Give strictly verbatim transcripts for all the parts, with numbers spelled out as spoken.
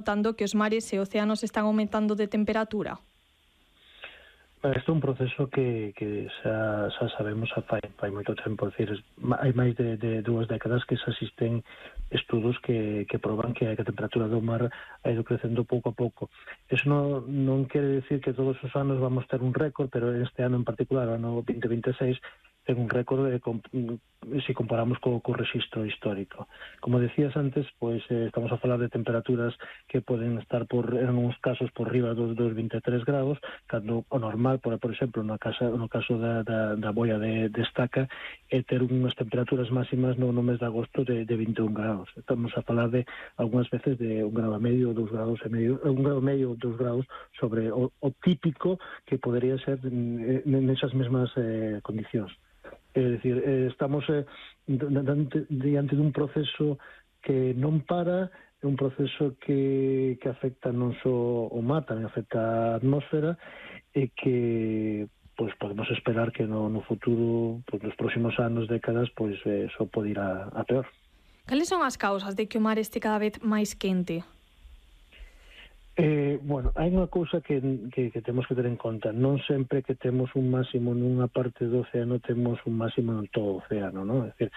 notando que os mares e océanos están aumentando de temperatura? Isto é un proceso que, que xa, xa sabemos xa fai, fai moito tempo, decir, hai máis de, de dúas décadas que xa existen estudos que, que proban que a temperatura do mar ha ido crecendo pouco a pouco. Eso non, non quere decir que todos os anos vamos ter un récord, pero este ano en particular, o ano vinte veintiséis, ten un récord de, se comparamos co, co registro histórico. Como decías antes, pois eh, estamos a falar de temperaturas que poden estar por, en uns casos por riba dos, dos vinte e tres grados, cando o normal, por, por exemplo, no, casa, no caso da, da, da boia de, de estaca, é ter unhas temperaturas máximas no, no mes de agosto de, de vinte e un grados. Estamos a falar de, algunhas veces, de un grado e medio, dous grados e medio, un grado e medio, dous grados sobre o, o típico que podería ser nesas mesmas eh, condicións. É dicir, eh, estamos eh, diante, diante dun proceso que non para, é un proceso que, que afecta non só o mar, tamén afecta a atmósfera, e que pois podemos esperar que no, no futuro, pois nos próximos anos, décadas, pois eh, só pode ir a, a peor. Cales son as causas de que o mar este cada vez máis quente? Eh, bueno, hai unha cousa que, que, que temos que ter en conta. Non sempre que temos un máximo nunha parte do océano temos un máximo en todo o océano, non? É dicir,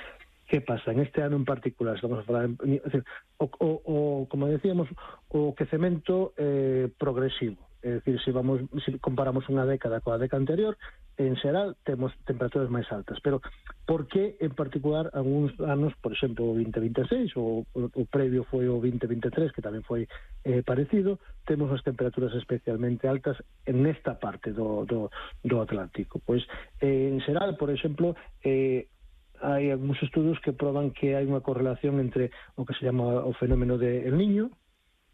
que pasa? En este ano en particular, estamos a falar, en, é dicir, o, o, o, como decíamos, o quecemento eh, progresivo. É dicir, se vamos, se comparamos unha década coa década anterior, en xeral temos temperaturas máis altas, pero por que en particular algúns anos, por exemplo, o vinte veintiséis, ou o, o previo foi o vinte veintitrés, que tamén foi eh, parecido, temos as temperaturas especialmente altas en esta parte do, do, do Atlántico? Pois, eh, en xeral, por exemplo, eh, hai algúns estudos que proban que hai unha correlación entre o que se chama o fenómeno de El Niño,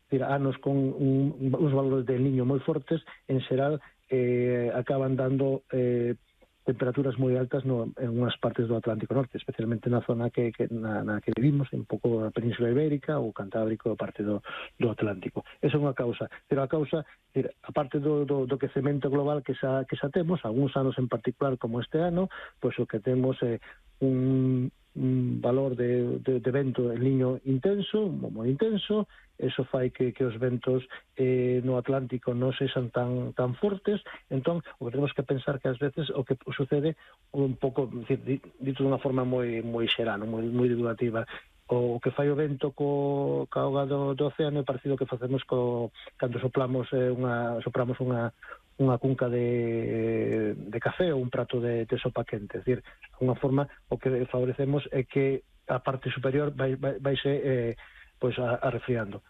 decir, anos con un, uns valores de El Niño moi fortes, en xeral eh, acaban dando eh, temperaturas moi altas no, en unhas partes do Atlántico Norte, especialmente na zona que, que, na, na que vivimos, un pouco a Península Ibérica ou Cantábrico, a parte do, do Atlántico. Esa é unha causa, pero a causa, decir, a parte do, do, do quecemento global que xa, que xa temos, algúns anos en particular como este ano, pois o que temos é un, un valor de, de, de vento El Niño intenso, moi intenso. Eso fai que, que os ventos eh, no Atlántico non sexan tan tan fortes. Entón, o que temos que pensar que ás veces o que sucede un pouco, dito de unha forma moi moi xeral, moi moi divulgativa, o que fai o vento co ca auga do, do océano é parecido que facemos co cando soplamos eh, unha sopramos unha unha cunca de, de café ou un prato de, de sopa quente. É dicir, unha forma o que favorecemos é que a parte superior vai vai, vai se eh, pois a, a refriando.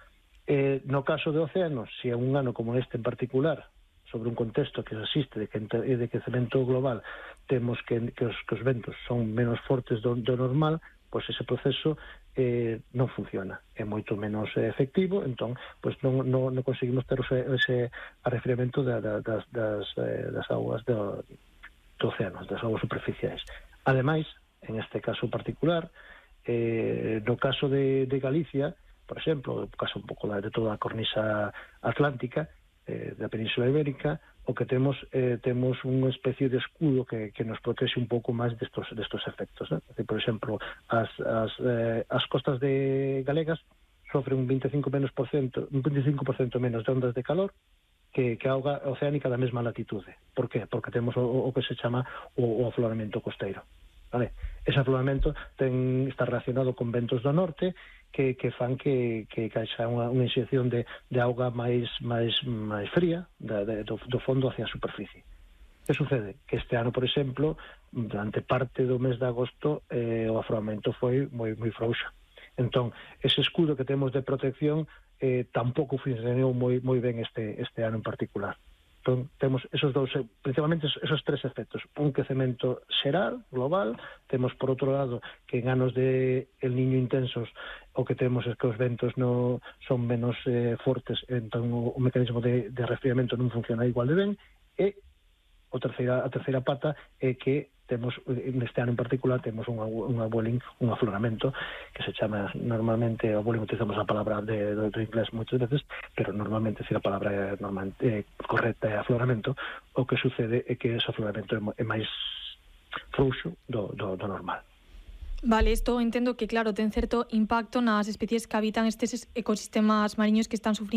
Eh, no caso de océanos, se é un ano como este en particular, sobre un contexto que existe de, que, de quecemento global, temos que, que, os, que os ventos son menos fortes do, do normal, pois ese proceso eh, non funciona, é moito menos eh, efectivo, entón pois non, non, non conseguimos ter ese, ese arrefriamento da, da, das, das, eh, das aguas do, do océano, das aguas superficiais. Ademais, en este caso particular, Eh, no caso de, de Galicia, por exemplo, no caso un pouco de toda a cornisa atlántica, eh, da Península Ibérica, o que temos eh, temos unha especie de escudo que, que nos protege un pouco máis destos, destos efectos, né? Por exemplo, as, as, eh, as costas de galegas sofren un veinticinco menos por cento, un veinticinco por cento menos de ondas de calor que, que a auga oceánica da mesma latitude. Por qué? Porque temos o, o que se chama o, o afloramento costeiro. Vale. Ese afloramento ten, está relacionado con ventos do norte que, que fan que, que, que haxa unha, unha inxección de, de auga máis, máis, máis fría da, de, do, do fondo hacia a superficie. Que sucede? Que este ano, por exemplo, durante parte do mes de agosto eh, o afloramento foi moi, moi frouxo. Entón, ese escudo que temos de protección eh, tampouco funcionou moi, moi ben este, este ano en particular. Entón, temos esos dous, principalmente esos tres efectos. Un quecemento xeral, global. Temos, por outro lado, que en anos de El Niño intensos o que temos é que os ventos no, son menos eh, fortes, entón o, o mecanismo de, de resfriamento non funciona igual de ben. E o terceira, a terceira pata é que temos, neste ano en particular, temos un, un abueling, un afloramento, que se chama normalmente, abueling utilizamos a palabra de, do, do inglés moitas veces, pero normalmente, se a palabra normal, eh, correcta é afloramento, o que sucede é que ese afloramento é, é máis frouxo do, do, do normal. Vale, isto entendo que, claro, ten certo impacto nas especies que habitan estes ecosistemas mariños que están sufrindo